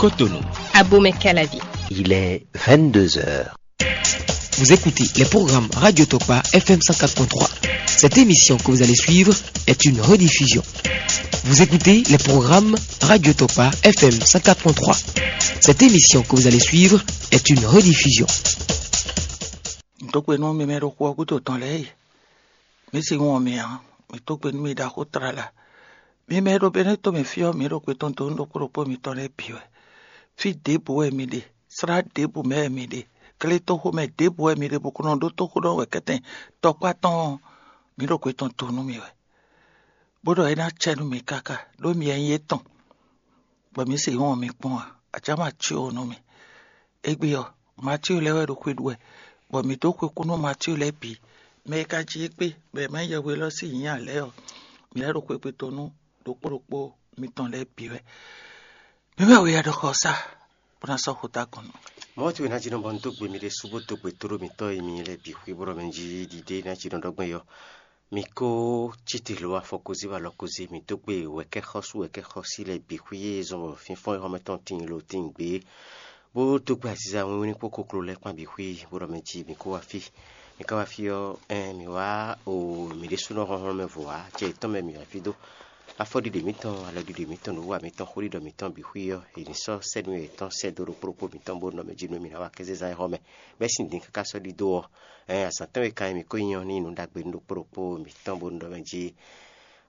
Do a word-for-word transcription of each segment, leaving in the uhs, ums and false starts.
Cotonou. Abomey Calavi. Il est vingt-deux heures. Vous écoutez les programmes Radio Tokpa F M cent quatre point trois. Cette émission que vous allez suivre est une rediffusion. Vous écoutez les programmes Radio Tokpa F M cent quatre point trois. Cette émission que vous allez suivre est une rediffusion. Dó gbe nú mi mɛ ɖo xu ɔ́ gúdo tɔn lɛ́ɛ e, mǐ sixú wɔn mi ǎ. Mǐ dó gbe nú mi ɖaxó tlala. Mi mɛ e ɖo Benɛ́to mɛ fí ɔ́, mǐ ɖo gbe tɔn dó nú ɖokpó ɖokpó mitɔn lɛ́ɛ bǐ wɛ. Fí ɖěbǔ wɛ mi ɖe, slá ɖěbǔ mɛ wɛ mi ɖe, gletoxo mɛ ɖěbǔ wɛ mi ɖe, bó ko nɔ ɖótó xó ɖɔ wɛ kɛ́tɛn tɔkpá tɔn ɔ́, mǐ ɖo gbe tɔn dó nú mi wɛ. Bó ɖɔ é ná cɛ nú mi káká, ɖó mi wɛ nyí étɔn, bɔ mǐ sixú wɔn mi kpɔ́n ǎ. Acǎ ma cí o nú mi. Égbé ɔ́, Matíu lɛ́ɛ wɛ ɖo xwe ɖu wɛ, bɔ mǐ dó xwe kú nú Matíu lɛ́ɛ bǐ. Mɛ e ka jí égbé, bɔ è má nyí yɛhwe élɔ́ sín nyǐ ǎ lɛ́ɛ ɔ́, mǐ lɛ́ ɖo xwé gbe tɔn nú ɖokpó ɖokpó mitɔn lɛ́ɛ bǐ wɛ. Mǐ mɛ we wɛ ɖɔ xɔ sá, bó ná sɔ́ xó dó agɔn nú mì. Mɔ̌ towe ná jí nɔ bɔ un dó gbe mi ɖésú bó dó gbe tóɖó mitɔ́ e mi lɛ́ɛ bǐ xwí bó ɖɔ mɛ jí ɖiɖe ná jí nɔ ɖɔ gbɔn é ɔ́. Mi ko cí te hlo afɔkózí wá alɔkózí, mi dó gbe wɛ̌kɛ́xɔ́sú wɛ̌kɛ́xɔ́sí lɛ́ɛ bǐ xwí e zɔn bɔ fínfɔ́n e xɔ́mɛ tɔn tíin lo tíin gbé, bó dó gbe aziza wínwín kpó kokló lɛ́ɛ kpán bǐ xwí, bó ɖɔ mɛ jí mi kó wá fí. Mi ka wá fí ɔ́, ɛn, mǐ wá o mǐ ɖésúnɔ hlɔ́nhlɔ́n mɛ vo ǎ, acɛ yětɔn mɛ mǐ wá fí dó. Afɔɖiɖe mǐtɔn, alɔɖiɖe mǐtɔn, nǔwiwa mǐtɔn, xóɖiɖɔ mǐtɔn bǐ xwí ɔ́, è nǐ sɔ́ sɛ́ nú yětɔn sɛ́ dó ɖokpó ɖokpó mǐtɔn bó nɔ mɛ jí nú mǐ ná wá kéze zán é xɔ́mɛ. Bɛ́ sín din káká sɔ́ ɖidó ɔ́, ɛn, azǎn tɔn e ka nyí mǐ ko nyí ɔ́ ní nyí nǔ ɖagbe nú ɖokpó ɖokpó mǐtɔn bó nɔ mɛ jí.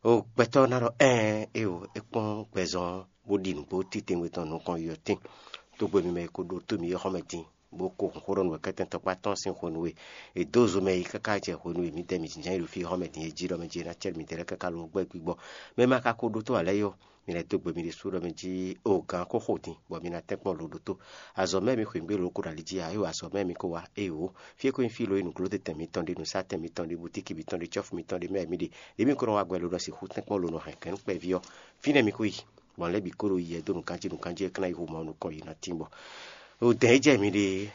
O gbɛtɔ́ ná ɖɔ ɛn, éyo, é kpɔ́n gbɛzɔn bó ɖi nǔgbó titewungbe tɔn nukɔn yi ɔ́ tíin. Tógbe mi mɛ e ko ɖótó mǐ é xɔ́mɛ din, bó ko hun xó ɖɔ nú wɛ kɛ́tɛn tɔkpá tɔn sín hwenu e è dó zo mɛ yi káká jɛ hwenu e mǐdɛɛ mǐ jínjɔ́n yi ɖo fí xɔ́mɛ din é jí ɖɔ mɛ jí é ná cɛ́ mǐdɛɛ lɛ́ɛ káká lo gbɛ́ gbígbɔ. Mɛ ma ka ko ɖótó ǎ lɛ́ɛ yɔ, mi lɛ́ dó gbe mi ɖésú ɖɔ mɛ jí o gǎn ko xo din, bɔ mi ná tɛ́nkpɔ́n lo ɖótó. Azɔ̌ mɛ mi xweyǐgbe lo ko ɖo ali jí ǎ, é wa azɔ̌ mɛ mi ko wá, éyo. Fí e ko nyí fí lo e nǔglótetɛn mitɔn ɖe, nǔsatɛn mitɔn ɖe, butíki mitɔn ɖe, cɔ́fu mitɔn ɖe mɛ mi ɖe, ɖě mi ko nɔ wá gbɛ lo nɔ sixú tɛ́nkpɔ́n lo nɔ hɛn kɛ̌n kpɛví ɔ́, fínɛ́ mi ko yi. Gbɔn lɛ́ɛ bǐ ko ɖo yi ɛ dó nǔkanjí nǔkanjí e ka ná yi hu Mawu nukɔn yi ná tín bɔ. O dɛ̌n e jɛ mi ɖe,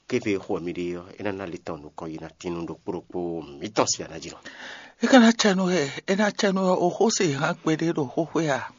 kéve e xo mi ɖe ɔ́, é ná ná lé tɔn nukɔn yi ná tín nú ɖokpó ɖokpó mǐtɔn si aná jí nɔ. É ka ná cɛ nú ɛ, é ná cɛ nú ɛ, o xó se hán kpɛɖé ɖo xóxwé a?